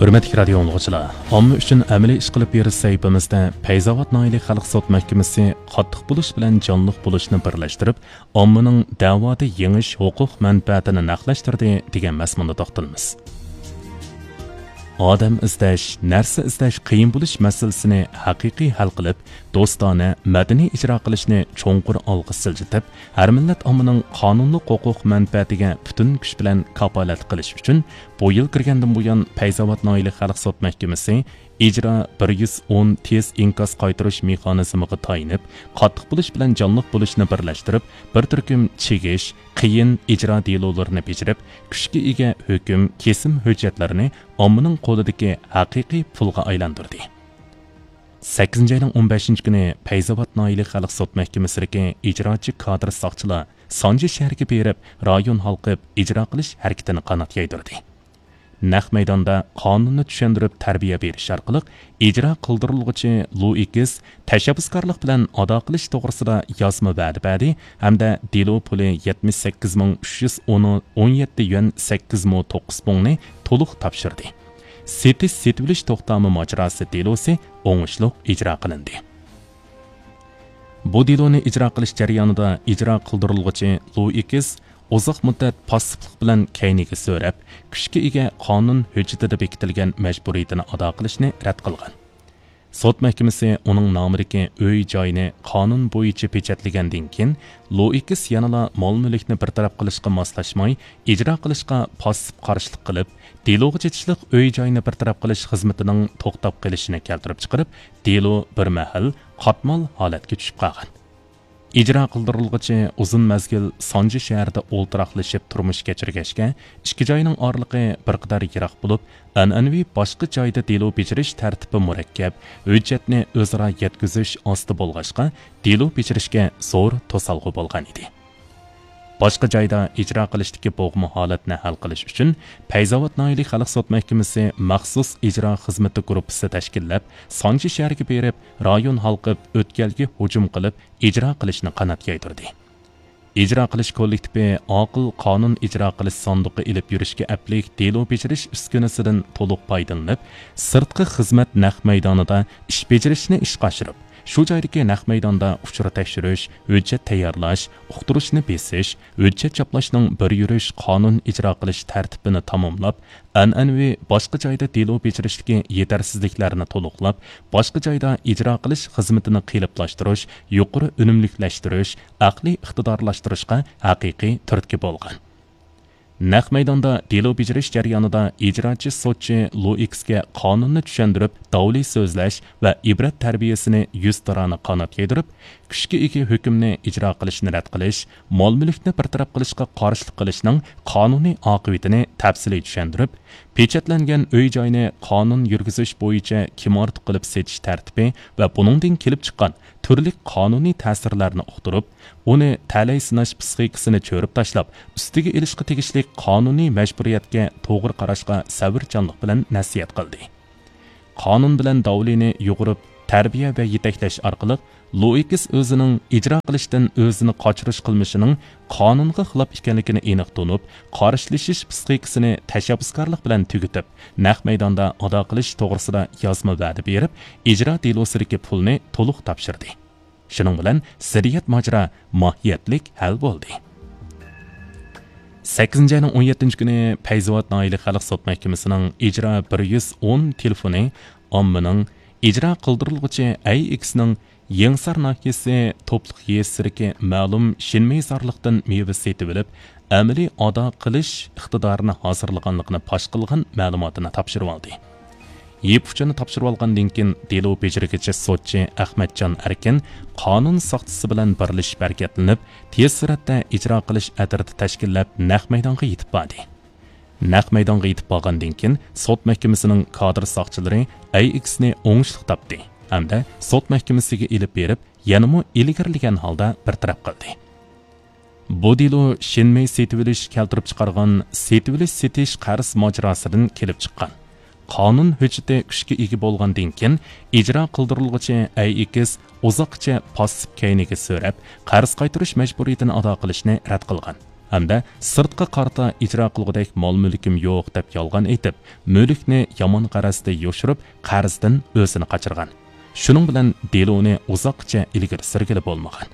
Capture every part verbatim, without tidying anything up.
ھۆرمەتلىك رادىيو ئاڭلىغۇچىلار، ئامما ئۈچۈن ئەمەلىي ئىش قىلىپ بېرىش سەھىپىمىزدە پەيزاۋات ناھىيەلىك خەلق سوت مەھكىمىسى قاتتىق بولۇش بىلەن جانلىق بولۇشنى بىرلەشتۈرۈپ، ئاممىنىڭ دەۋادا يېڭىش ھوقۇق مەنپەئەتىنى نەقلەشتۈردى دېگەن مەزمۇندا توختىلىمىز. ئادەم ئىزدەش، نەرسە ئىزدەش قىيىن بولۇش مەسىلىسىنى ھەقىقىي ھەل قىلىپ، دوستانە، مەدەنىي ئىجرا قىلىشنى چوڭقۇر ئالغا سىلجىتىپ، ھەر مىللەت ئاممىنىڭ قانۇنلۇق ھوقۇق مەنپەئەتىگە پۈتۈن كۈچ بىلەن كاپالەتلىك قىلىش ئۈچۈن، بۇ يىل كىرگەندىن بۇيان، پەيزاۋات ناھىيەلىك خەلق سوت مەھكىمىسى ئىجرا بىر يۈز ئون تېز ئىنكاس قايتۇرۇش مېخانىزمىغا تايىنىپ، قاتتىق بولۇش بىلەن جانلىق بولۇشنى بىرلەشتۈرۈپ، بىر تۈركۈم چىگىش، قىيىن ئىجرا دېلولىرىنى بېجىرىپ، كۈچكە ئىگە ھۆكۈم، كېسىم ھۆججەتلىرىنى ئاممىنىڭ قولىدىكى ھەقىقىي پۇلغا ئايلاندۇردى. سەككىزىنچى ئاينىڭ ئون بەشىنچى كۈنى پەيزاۋات ناھىيەلىك خەلق سوت مەھكىمىسىدىكى ئىجراچى كادىر ساقچىلار سانجى شەھىرىگە بېرىپ، رايون ھالقىپ ئىجرا قىلىش ھەرىكىتىنى قانات يايدۇردى. نەق مەيداندا قانۇننى چۈشەندۈرۈپ تەربىيە بېرىش ئارقىلىق، ئىجرا قىلدۇرۇلغۇچى لۇئىكىس تەشەببۇسكارلىق بىلەن ئادا قىلىش توغرىسىدا يازما ۋەدە بەردى ھەمدە دېلو پۇلى يەتمىش سەككىز مىڭ ئۈچ يۈز ئون يەتتە يۈەن سەككىز مو توققۇز پۇڭنى تولۇق تاپشۇردى. سېتىش، سېتىۋېلىش توختامى ماجىراسى دېلوسى ئوڭۇشلۇق ئىجرا قىلىندى. بۇ دېلونى ئىجرا قىلىش جەريانىدا ئىجرا قىلدۇرۇلغۇچى لۇئىكىس ئۇزاق مۇددەت پاسسىپلىق بىلەن كەينىگە سۆرەپ، كۈچكە ئىگە قانۇن ھۆججىتىدە بېكىتىلگەن مەجبۇرىيىتىنى ئادا قىلىشنى رەت قىلغان. سوت مەھكىمىسى ئۇنىڭ نامىدىكى ئۆي-جاينى قانۇن بويىچە پېچەتلىگەندىن كېيىن، لۇئىكىس يەنىلا مال-مۈلۈكنى بىر تەرەپ قىلىشقا ماسلاشماي، ئىجرا قىلىشقا پاسسىپ قارشىلىق قىلىپ، دېلوغا چېتىشلىق ئۆي-جاينى بىر تەرەپ قىلىش خىزمىتىنىڭ توختاپ قېلىشىنى كەلتۈرۈپ چىقىرىپ، دېلو بىر مەھەل قاتمال ھالەتكە چۈشۈپ قالغان. ئىجرا قىلدۇرۇلغۇچى ئۇزۇن مەزگىل سانجى شەھىرىدە ئولتۇراقلىشىپ تۇرمۇش كەچۈرگەچكە، ئىككى جاينىڭ ئارىلىقى بىر قەدەر يىراق بولۇپ، ئەنئەنىۋى باشقا جايدا دېلو بېجىرىش تەرتىپى مۇرەككەپ، ھۆججەتنى ئۆزئارا يەتكۈزۈش ئاستا بولغاچقا، دېلو بېجىرىشكە زور توسالغۇ بولغان ئىدى. باشقا جايدا ئىجرا قىلىشتىكى بوغما ھالەتنى ھەل قىلىش ئۈچۈن، پەيزاۋات ناھىيەلىك خەلق سوت مەھكىمىسى مەخسۇس ئىجرا خىزمىتى گۇرۇپپىسى تەشكىللەپ، سانجى شەھىرىگە بېرىپ، رايون ھالقىپ ئۆتكەلگە ھۇجۇم قىلىپ، ئىجرا قىلىشنى قانات يايدۇردى. ئىجرا قىلىش كوللېكتىپى ئاقىل قانۇن ئىجرا قىلىش ساندۇقى ئېلىپ يۈرۈشكە ئەپلىك دېلو بېجىرىش ئۈسكۈنىسىدىن تولۇق پايدىلىنىپ، سىرتقى خىزمەت نەق مەيدانىدا ئىش بېجىرىشنى ئىشقا ئاشۇرۇپ، شۇ جايدىكى نەق مەيداندا ئۇچۇر تەكشۈرۈش، ھۆججەت تەييارلاش، ئۇقتۇرۇشنى بېسىش، ھۆججەت چاپلاشنىڭ بىر يۈرۈش قانۇن ئىجرا قىلىش تەرتىپىنى تاماملاپ، ئەنئەنىۋى باشقا جايدا دېلو بېجىرىشتىكى يېتەرسىزلىكلەرنى تولۇقلاپ، باشقا جايدا ئىجرا قىلىش خىزمىتىنى قېلىپلاشتۇرۇش، يۇقىرى ئۈنۈملۈكلەشتۈرۈش، ئەقلىي ئىقتىدارلاشتۇرۇشقا ھەقىقىي تۈرتكە بولغان. نەق مەيداندا دېلو بېجىرىش جەريانىدا ئىجراچى سوتچى لۇئىكسكە قانۇننى چۈشەندۈرۈپ، داۋلى سۆزلەش ۋە ئىبرەت تەربىيەسىنى يۈزتۇرانە قانات يايدۇرۇپ، كۈچكە ئىگە ھۆكۈمنى ئىجرا قىلىشنى رەت قىلىش، مال-مۈلۈكنى بىر تەرەپ قىلىشقا قارشىلىق قىلىشنىڭ قانۇنىي ئاقىۋىتىنى تەپسىلىي چۈشەندۈرۈپ، پېچەتلەنگەن ئۆي-جاينى قانۇن يۈرگۈزۈش بويىچە كىم ئارتۇق قىلىپ سېتىش تەرتىپى ۋە بۇنىڭدىن كېلىپ چىققان تۈرلۈك قانۇنىي تەسىرلەرنى ئۇقتۇرۇپ، ئۇنى تەلەي سىناش پىسخىكىسىنى چۆرۈپ تاشلاپ، ئۈستىگە ئېلىشقا تېگىشلىك قانۇنىي مەجبۇرىيەتكە توغرا قاراشقا سەۋرچانلىق بىلەن نەسىھەت قىلدى. قانۇن بىلەن داۋلىنى يۇغۇرۇپ، تەربىيە ۋە يېتەكلەش ئارقىلىق، لۇئىكس ئۆزىنىڭ ئىجرا قىلىشتىن ئۆزىنى قاچۇرۇش قىلمىشىنىڭ قانۇنغا خىلاپ ئىكەنلىكىنى ئېنىق تونۇپ، قارشىلىشىش پىسخىكىسىنى تەشەببۇسكارلىق بىلەن تۈگىتىپ، نەق مەيداندا ئادا قىلىش توغرىسىدا يازما ۋەدە بېرىپ، ئىجرا دېلوسىدىكى پۇلنى تولۇق تاپشۇردى. شۇنىڭ بىلەن زىددىيەت ماجىرا ماھىيەتلىك ھەل بولدى. سەككىزىنچى ئاينىڭ ئون يەتتىنچى كۈنى پەيزاۋات ناھىيەلىك خەلق سوت مەھكىمىسىنىڭ ئىجرا بىر يۈز ئون تېلېفونى ئاممىنىڭ ئىجرا قىلدۇرۇلغۇچى ئەي ئىكسنىڭ يېڭىسار ناھىيەسى توپلۇق يېزىسىدىكى مەلۇم شىنمېيزارلىقتىن مېۋە سېتىۋېلىپ، ئەمەلىي ئادا قىلىش ئىقتىدارىنى ھازىرلىغانلىقىنى پاش قىلغان مەلۇماتىنى تاپشۇرۇۋالدى. يىپ ئۇچىنى تاپشۇرۇۋالغاندىن كېيىن، دېلو بېجىرگۈچى سوتچى ئەخمەتجان ئەركىن قانۇن ساقچىسى بىلەن بىرلىشىپ ھەرىكەتلىنىپ، تېز سۈرئەتتە ئىجرا قىلىش ئەترىتى تەشكىللەپ، نەق مەيدانغا يېتىپ باردى. نەق مەيدانغا يېتىپ بارغاندىن كېيىن، سوت مەھكىمىسىنىڭ كادىر ساقچىلىرى ئەي ئىكسنى ئوڭۇشلۇق تاپتى ھەمدە سوت مەھكىمىسىگە ئېلىپ بېرىپ، يەنىمۇ ئىلگىرىلىگەن ھالدا بىر تەرەپ قىلدى. بۇ دېلو شىنمېي سېتىۋېلىش كەلتۈرۈپ چىقارغان سېتىۋېلىش سېتىش قەرز ماجىراسىدىن كېلىپ چىققان. قانۇن ھۆججىتى كۈچكە ئىگە بولغاندىن كېيىن، ئىجرا قىلدۇرۇلغۇچى ئەي ئىكس ئۇزاققىچە پاسسىپ كەينىگە سۆرەپ، قەرز قايتۇرۇش مەجبۇرىيىتىنى ئادا قىلىشنى رەت قىلغان. ھەمدە سىرتقا قارىتا ئىجرا قىلغۇدەك مال-مۈلكۈم يوق دەپ يالغان ئېيتىپ، مۈلۈكنى يامان غەرەزدە يوشۇرۇپ، قەرزدىن ئۆزىنى قاچۇرغان. شۇنىڭ بىلەن دېلونى ئۇزاققىچە ئىلگىرى سۈرگىلى بولمىغان.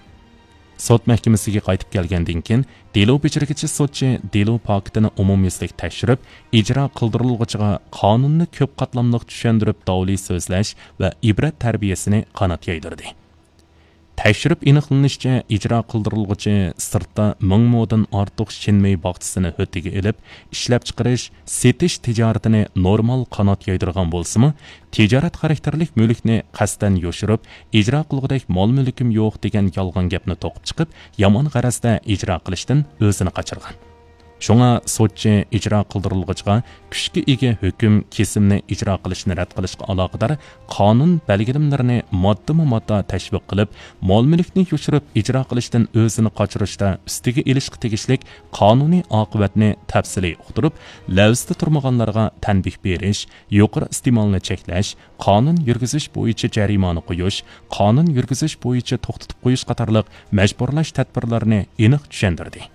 سوت مەھكىمىسىگە قايتىپ كەلگەندىن كېيىن، دېلو بېجىرگۈچى سوتچى دېلو پاكىتىنى ئومۇميۈزلۈك تەكشۈرۈپ، ئىجرا قىلدۇرۇلغۇچىغا قانۇننى كۆپ قاتلاملىق چۈشەندۈرۈپ، داۋلى سۆزلەش ۋە ئىبرەت تەربىيەسىنى قانات يايدۇردى. تەكشۈرۈپ ئېنىقلىنىشىچە، ئىجرا قىلدۇرۇلغۇچى سىرتتا مىڭ مودىن ئارتۇق شىنمېي باغچىسىنى ھۆددىگە ئېلىپ، ئىشلەپچىقىرىش، سېتىش تىجارىتىنى نورمال قانات يايدۇرغان بولسىمۇ، تىجارەت خاراكتېرلىك مۈلۈكنى قەستەن يوشۇرۇپ، ئىجرا قىلغۇدەك مال-مۈلكۈم يوق دېگەن يالغان گەپنى توقۇپ چىقىپ، يامان غەرەزدە ئىجرا قىلىشتىن ئۆزىنى قاچۇرغان. شۇڭا سوتچى ئىجرا قىلدۇرۇلغۇچىغا كۈچكە ئىگە ھۆكۈم كېسىمنى ئىجرا قىلىشنى رەت قىلىشقا ئالاقىدار قانۇن بەلگىلىمىلىرىنى ماددىمۇ ماددا تەشۋىق قىلىپ، مال-مۈلۈكنى يوشۇرۇپ ئىجرا قىلىشتىن ئۆزىنى قاچۇرۇشتا ئۈستىگە ئېلىشقا تېگىشلىك قانۇنىي ئاقىۋەتنى تەپسىلىي ئۇقتۇرۇپ، لەۋزىدە تۇرمىغانلارغا تەنبىھ بېرىش، يۇقىرى ئىستېمالنى چەكلەش، قانۇن يۈرگۈزۈش بويىچە جەرىمانە قويۇش، قانۇن يۈرگۈزۈش بويىچە توختىتىپ قويۇش قاتارلىق مەجبۇرلاش تەدبىرلىرىنى ئېنىق چۈشەندۈردى.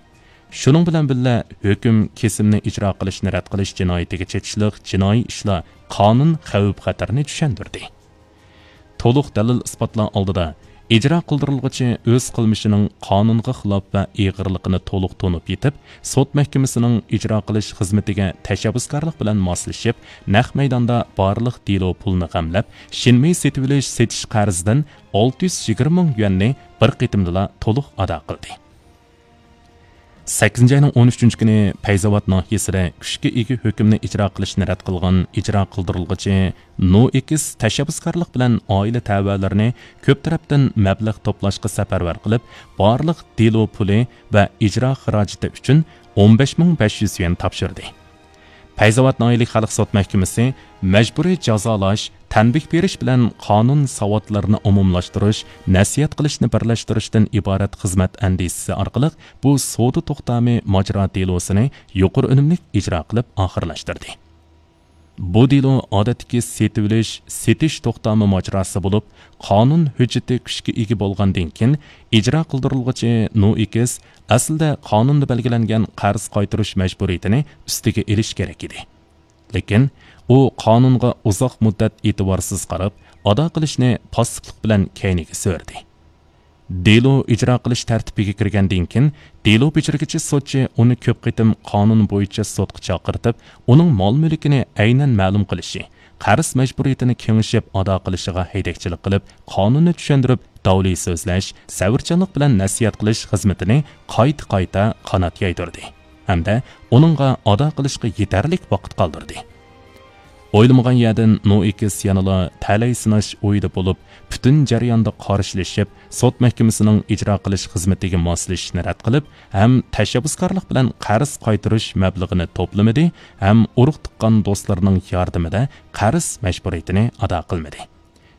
شۇنىڭ بىلەن بىللە، ھۆكۈم كېسىمنى ئىجرا قىلىشنى رەت قىلىش جىنايىتىگە چېتىشلىق جىنايى ئىشلار قانۇن خەۋپ-خەتىرىنى چۈشەندۈردى. تولۇق دەلىل-ئىسپاتلار ئالدىدا، ئىجرا قىلدۇرۇلغۇچى ئۆز قىلمىشىنىڭ قانۇنغا خىلاپ ۋە ئېغىرلىقىنى تولۇق تونۇپ يېتىپ، سوت مەھكىمىسىنىڭ ئىجرا قىلىش خىزمىتىگە تەشەببۇسكارلىق بىلەن ماسلىشىپ، نەق مەيداندا بارلىق دېلو پۇلىنى غەملەپ، شىنمېي سېتىۋېلىش-سېتىش قەرزىدىن ئالتە يۈز يىگىرمە مىڭ يۈەننى بىر قېتىمدىلا تولۇق ئادا قىلدى. سەككىزىنچى ئاينىڭ ئون ئۈچىنچى كۈنى پەيزاۋات ناھىيەسىدە كۈچكە ئىگە ھۆكۈمنى ئىجرا قىلىشنى رەت قىلغان ئىجرا قىلدۇرۇلغۇچى نو ئېكس تەشەببۇسكارلىق بىلەن ئائىلە تەۋەلىرىنى كۆپ تەرەپتىن مەبلەغ توپلاشقا سەپەرۋەر قىلىپ، بارلىق دېلو پۇلى ۋە ئىجرا خىراجىتى ئۈچۈن ئون بەش مىڭ بەش يۈز يۈەن تاپشۇردى. پەيزاۋات ناھىيەلىك خەلق سوت مەھكىمىسى مەجبۇرىي جازالاش، تەنبىھ بېرىش بىلەن قانۇن ساۋاتلىرىنى ئومۇملاشتۇرۇش، نەسىھەت قىلىشنى بىرلەشتۈرۈشتىن ئىبارەت خىزمەت ئەندىزىسى ئارقىلىق بۇ سودا توختامى ماجرا دېلوسىنى يۇقىرى ئۈنۈملۈك ئىجرا قىلىپ ئاخىرلاشتۇردى. بۇ دېلو ئادەتتىكى سېتىۋېلىش، سېتىش توختامى ماجىراسى بولۇپ، قانۇن ھۆججىتى كۈچكە ئىگە بولغاندىن كېيىن، ئىجرا قىلدۇرۇلغۇچى نو ئېكس ئەسلىدە قانۇندا بەلگىلەنگەن قەرز قايتۇرۇش مەجبۇرىيىتىنى ئۈستىگە ئېلىشى كېرەك ئىدى. لېكىن ئۇ قانۇنغا ئۇزاق مۇددەت ئېتىبارسىز قاراپ، ئادا قىلىشنى پاسسىپلىق بىلەن كەينىگە سۈردى. دېلو ئىجرا قىلىش تەرتىپىگە كىرگەندىن كېيىن، دېلو بېجىرگۈچى سوتچى ئۇنى كۆپ قېتىم قانۇن بويىچە سوتقا چاقىرتىپ، ئۇنىڭ مال-مۈلكىنى ئەينەن مەلۇم قىلىشى، قەرز مەجبۇرىيىتىنى كېڭىشىپ ئادا قىلىشىغا ھەيدەكچىلىك قىلىپ، قانۇننى چۈشەندۈرۈپ، داۋلى سۆزلەش، سەۋرچانلىق بىلەن نەسىھەت قىلىش خىزمىتىنى قايتا-قايتا قانات يايدۇردى ھەمدە ئۇنىڭغا ئادا قىلىشقا يېتەرلىك ۋاقىت قالدۇردى. ئويلىمىغان يەردىن نو ئېكس يەنىلا تەلەي سىناش ئويىدا بولۇپ، پۈتۈن جەرياندا قارشىلىشىپ، سوت مەھكىمىسىنىڭ ئىجرا قىلىش خىزمىتىگە ماسلىشىشنى رەت قىلىپ، ھەم تەشەببۇسكارلىق بىلەن قەرز قايتۇرۇش مەبلىغىنى توپلىمىدى، ھەم ئۇرۇق-تۇغقان دوستلىرىنىڭ ياردىمىدە قەرز مەجبۇرىيىتىنى ئادا قىلمىدى.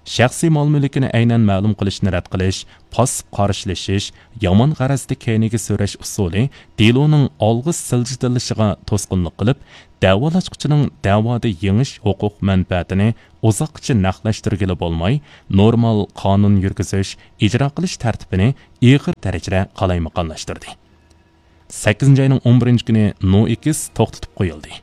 شەخسىي مال-مۈلكىنى ئەينەن مەلۇم قىلىشنى رەت قىلىش، پاسسىپ قارشىلىشىش، يامان غەرەزدە كەينىگە سۆرەش ئۇسۇلى دېلونىڭ ئالغا سىلجىتىلىشىغا توسقۇنلۇق قىلىپ، دەۋالاشقۇچىنىڭ دەۋادا يېڭىش ھوقۇق مەنپەئەتىنى ئۇزاققىچە نەقلەشتۈرگىلى بولماي، نورمال قانۇن يۈرگۈزۈش، ئىجرا قىلىش تەرتىپىنى ئېغىر دەرىجىدە قالايمىقانلاشتۇردى. سەككىزىنچى ئاينىڭ ئون بىرىنچى كۈنى نو ئېكس توختىتىپ قويۇلدى.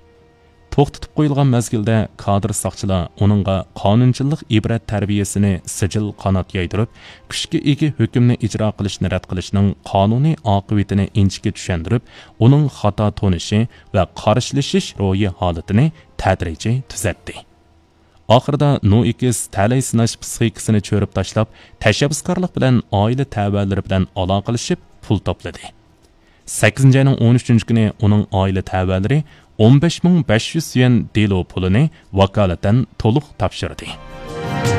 توختىتىپ قويۇلغان مەزگىلدە كادىر ساقچىلار ئۇنىڭغا قانۇنچىللىق ئىبرەت تەربىيەسىنى سىجىل قانات يايدۇرۇپ، كۈچكە ئىگە ھۆكۈمنى ئىجرا قىلىشنى رەت قىلىشنىڭ قانۇنىي ئاقىۋىتىنى ئىنچىكە چۈشەندۈرۈپ، ئۇنىڭ خاتا تونۇشى ۋە قارشىلىشىش روھىي ھالىتىنى تەدرىجىي تۈزەتتى. ئاخىرىدا نو ئېكس تەلەي سىناش پىسخىكىسىنى چۆرۈپ تاشلاپ، تەشەببۇسكارلىق بىلەن ئائىلە تەۋەلىرى بىلەن ئالاقىلىشىپ پۇل توپلىدى. سەككىزىنچى ئاينىڭ ئون ئۈچىنچى كۈنى ئۇنىڭ ئائىلە تەۋەلىرى ئون بەش مىڭ بەش يۈز يۈەن دېلو پۇلىنى ۋاكالىتەن تولۇق تاپشۇردى.